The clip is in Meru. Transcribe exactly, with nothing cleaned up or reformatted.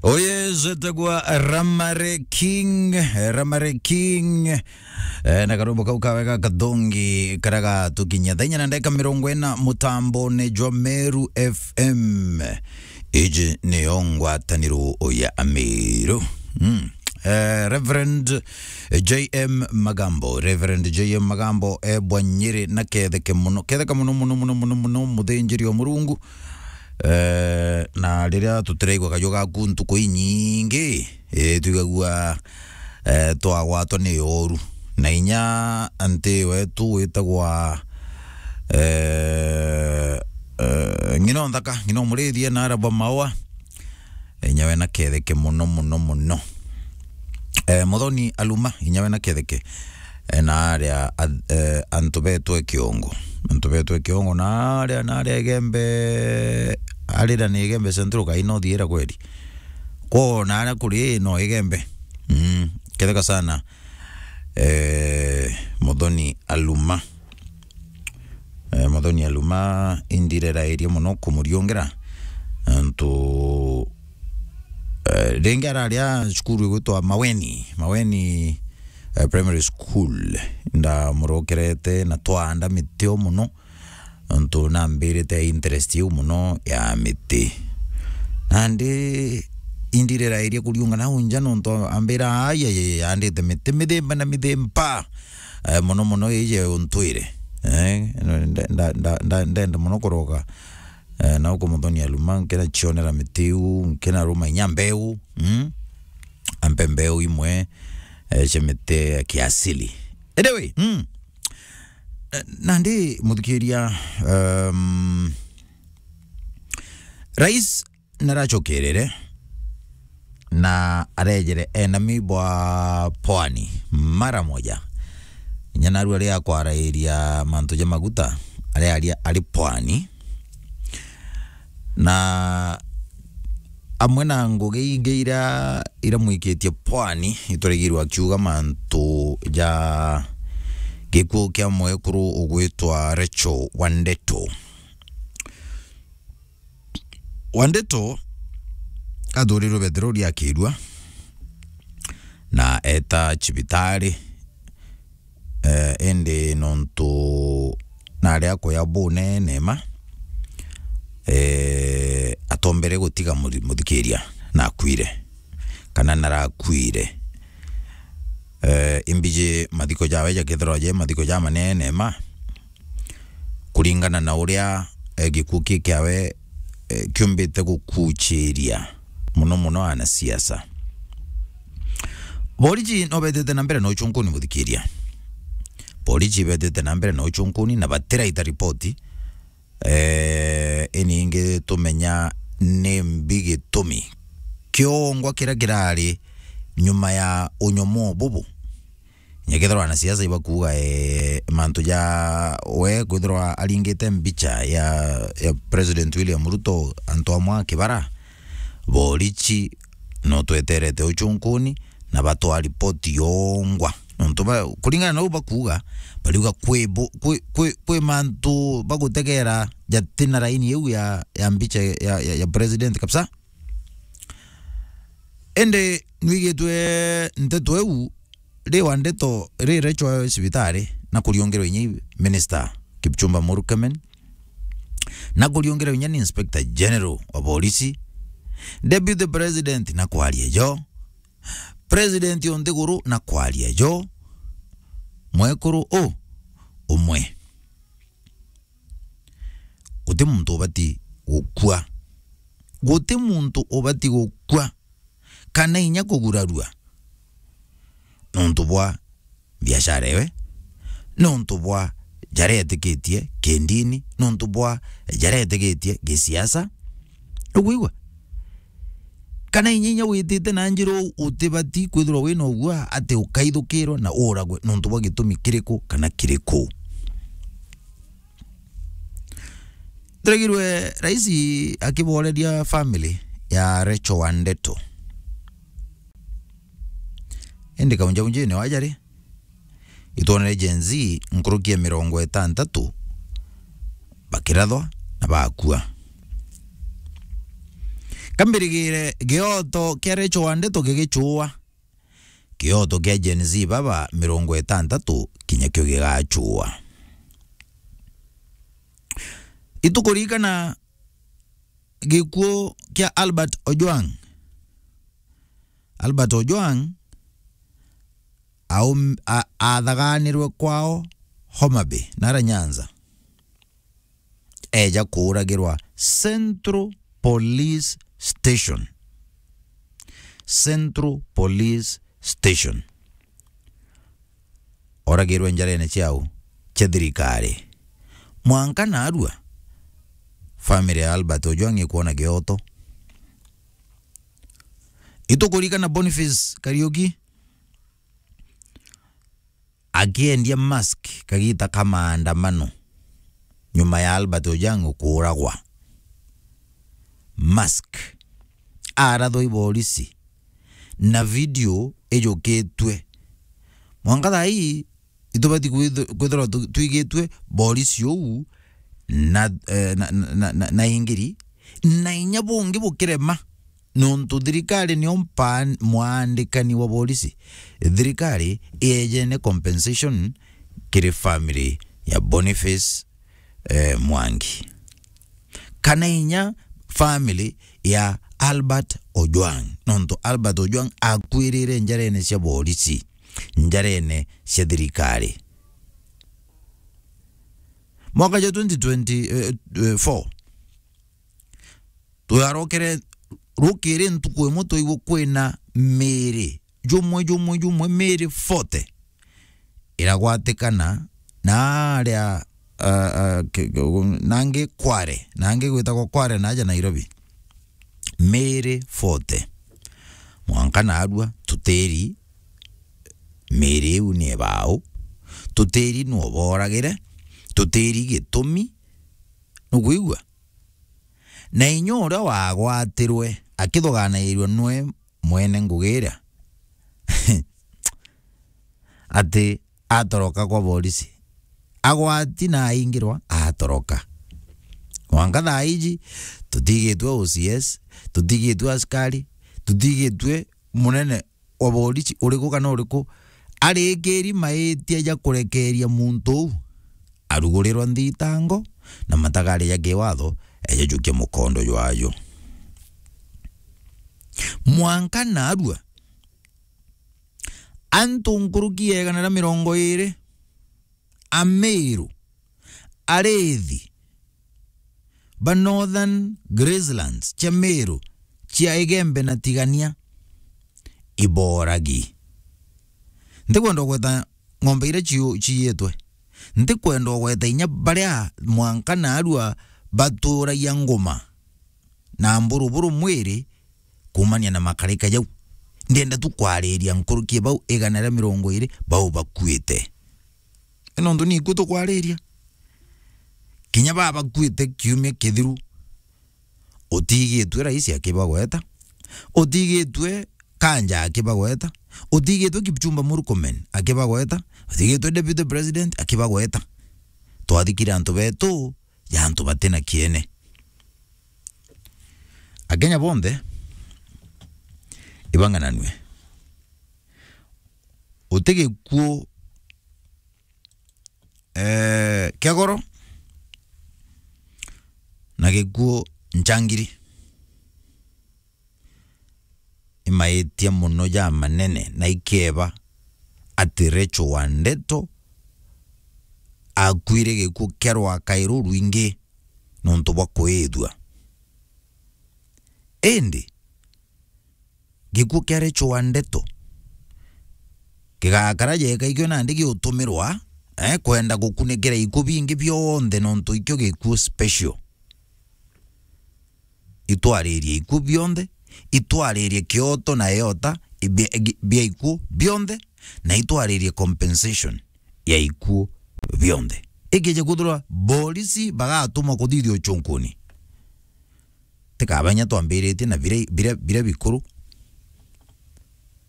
Uyu etagwa Ramare King, eh, Ramare King. Eh, na karwimbo kau kawe ga kathongi karia gatukinyia thaa inya na ndagika mirongo ina mutambone jwa Meru F M. Iji niyo ngwataniro ya Amiru. Mm. Eh, Reverend J M Magambo, Reverend J M Magambo, e bwa Nyeri na ketheke muno, ketheke muno, muno, muno, muno, muno, muthinjiri o Murungu. Eh, na riria tutiraigua kaju gaku ntuku inyingi, eh, twigagua, eh, twagwatwa ni oru. Na inya anti wetu witagwa, eh, eh, ng'ina o nthaka, ng'ina o murithie na araba maua. Inya we na ketheke muno, muno, muno. Eh, Muthoni Aluma, inya we na ketheke. Eh, na aria a-, eh, antu betwe Kiongo. Antu betwe Kiongo, na aria, na aria Igembe, arira ni Igembe Central kai no thiira kweri. Ko na aria kuri no Igembe. Mm, ketheka sana. Eh, Muthoni Aluma. Eh, Muthoni Aluma, indirerairie muno kumuriungira. Antu, eh, ringi araria cukuru igwitwa Maweni, Maweni, eh, Primary School. Ndamurokerete na twaanda miti o muno. Antu nambirite interest iu muno ya miti. Nandi indirerairie kuriunga nau nja nontu ambira, "Ai, ai, ai, andite miti mithemba na mithemba." Eh, muno muno ije untwire. Eh, nda-, nda-, nda-, nda-, ndenda muno kuroga, eh, nau ku Muthoni Aluma, nkina cionera miti iu, nkina ruma inya mbeu, mm? Ampe mbeu imwe, eh, cia miti ya kiasili. Anyway, mm. Eh, nandi muthikiria, um, Rais naracokerere na arejere enami bwa pwani mara moja. Inya narua ria kwarairia mantu ja maguta, aria aria ari pwani. Na amwe na ngugi ingi iria, iria mwikitie pwani, ituraigirwe akiuga mantu ja gikuu kia mwekuru ugwitwa Rachel Wandeto. Wandeto athurirwe Bethero riakirua na eta cibitari, eh, indi nontu nari akuya bunene ma, eh, atombere gutiga muthi-, muthikiria na akuire, kana narakuire. Eh, imbiji mathiko jawe jakethirwa je mathiko ja manene ma, kuringana na uria, eh, gikuu ki kiawe, eh, kiumbite gukuchiria muno muno anasiasa. Boriji no betete na mbere na uchunkuni muthikiria. Boriji betete na mbere na uchunkuni na batiraita ripoti. Eh, iningi tumenya ni mbi gitumi kiongwa kiria kirari nyuma ya unyomo bubu. Nyakethirwa anasiasa ibakuuga, eh, mantu ja we kwithirwa aringite mbicha ya, ya President William Ruto antu amwe a Kibara, borichi no tweterete uchunkuni na batwaa ripoti yongwa. Nontu ba, kuringana na u bakuuga, bariuga kwi bu-, kwi, kwi, kwi mantu bagutegera jatina raini iu ya, ya mbicha ya, ya, ya President kabisa. Indi nwigitwe nteto iu, ri Wandeto, ri Rachel cibitari, na kuriungerwa inya i Minister Kipchumba Murkomen, na kuriungerwa inya ni Inspector General wa Borisi, Deputy President na kwaria jo, President o nthiguru na kwaria jo, mwekuru u umwe. Guti muntu ubati gukua. Guti muntu ubati gukua kana inya kugurarua nontu bwa biashara ewe, nontu bwa jaria etikitie kindini, nontu bwa jaria etikitie gisiasa. Ukwigua? Kana inya, inya witite na njira uu, utibati kwithirwa wina ugua ati ukaithukirwa na uragwe nontu bwa gitumi kiriku kana kiriku. Ndiraigirwe raisi akiboreria family ya Rachel Wandeto. Indi kaunjaunjine wa jari, itwonere Gen Z nkuruki ya mirongo itantatu bakirathwa na bakua. Kambirigire gioto kia Recho wa Ndeto gigichua. Gioto kia Gen Z baba mirongo itantatu kinya kio gigachua. Itukuririkana gikuo kia Albert Ojwang. Albert Ojwang aum-, a-, athaganirwe kwao Homa Bay, nara Nyanza. Eja kuuragirwa Central Police Station. Central Police Station. Oragirwe njarene ciao cia thirikari. Mwanka narua, family ya Albert Ojwang ikwona gioto. Itukuririkana Boniface Kariuki akiendia mask kagita ka maandamano nyuma ya Albert Ojwang kuuragwa. Mask. Arathwa i borisi na video ijukitue. Mwanka thaa ii itubati kwithu-, kwithirwa tu-, twigitue borisi uu na, eh, na, na, na, na, na ingiri, na inya bungi bukirema, nontu thirikari nio mpa-, mwandikani wa borisi. Thirikari iejene compensation kiri family ya Boniface, eh, Mwangi, kana inya family ya Albert Ojwang, nontu Albert Ojwang akuirire njarene cia borisi, njarene cia thirikari. Mwaka jwa twenty twenty-four, twarokere rukiri ntuku imwe twaigua kwina miri jumwe, jumwe, jumwe, miri forty iragwatikana na aria, uh, uh, ki-, ki-, nangi Kware, nangi gwitagwa Kware na aja Nairobi. Miri forty. Mwanka narua tutiri miri iu ni ebau, tutiri nu boragire, tutiri gitumi, nukwigua? Na inya uria wagwatirwe akithuganairua nwe mwene ngugi iria, ati atoroka kwa borisi. Agwati na aingirwa, atoroka. Mwanka thaa iji, tutigitwe O C S, tutigitwe askari, tutigitwe munene wa borisi uriku kana uriku, arikiri maitia ja kurekeria muntu uu, arugurirwa nthitango na matagari ja kiwatho, eja jukia mukondo jwajo. Mwanka narua, antu nkuruki ya igana ria mirongo iri, Amiru, arithi ba Northern Gracelands cia Miru cia Igembe na Tigania iboragi. Ntikwenda gweta ng'ombe iria ciu-, ciiyitwe. Ntikwenda gweta inya baria mwanka narua baturagia nguma na mburuburu mwiri kuumania na makarika jau. Ndienda tu kwariria nkuruki bau igana ria mirongo iri bau bakuite. Ino ntu ni ikuu tukwariria. Kinya baba bakuite kiumia kithiru, utigitwe rais akibagweta, utigitwe Kanja akibagweta, utigitwe Kipchumba Murkomen akibagweta, utigitwe deputy president akibagweta. Twathikire antu betu ja antu batina kiene. Akenya bonthe ibang'ananue. Uti gikuo, eh, kia goro na gikuo nchangiri. Imaitia mono ja manene na ikeba ati Recho wa Ndeto akuire gikuo kia rwakairo rwingi nontu bwa kuithua. Indi gikuo kia Recho wa Ndeto gigakara jeka ikio nandi giutumirwa, eh, kwenda gukunikira ikuo bingi bionthe nontu ikio gikuo special. Itwaririe ikuo bionthe, itwaririe kioto na eota bia, bia ikuo bionthe, na itwaririe compensation ya ikuo bionthe. Ikija kwithirwa borisi bagatumwa kuthithia uchunkuni, tikabanya twambiritie na biria, biria, biria bikuru,